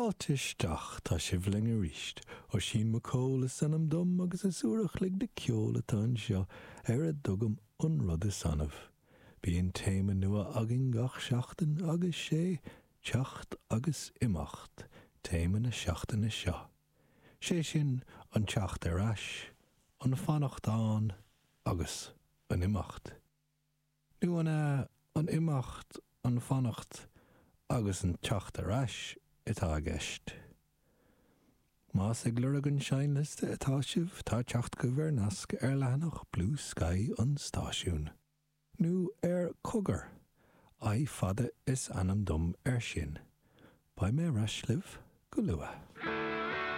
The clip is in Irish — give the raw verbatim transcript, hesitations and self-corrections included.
Fáilte isteach, tá sibh linn arís. Oisín Mac Cóil is ainm dom agus is uair a chloig de ceol atá anseo ar a dtugaim an rud is annamh. Bíonn téama nua againn gach seachtain agus sé teacht agus imeacht téama na seachtaine seo. Sé sin an teacht ar ais, an fanacht ann agus an imeacht. Nó an é an imeacht an fanacht agus an teacht ar ais atá i gceist. Más ag lorg an seinnliosta atá sibh tá teacht agaibh ar nasc ar leathanach Blue Sky an stáisiún. Nó ar Cogar, I fada is ainm dom ar sin. Beidh mé ar ais libh go luath.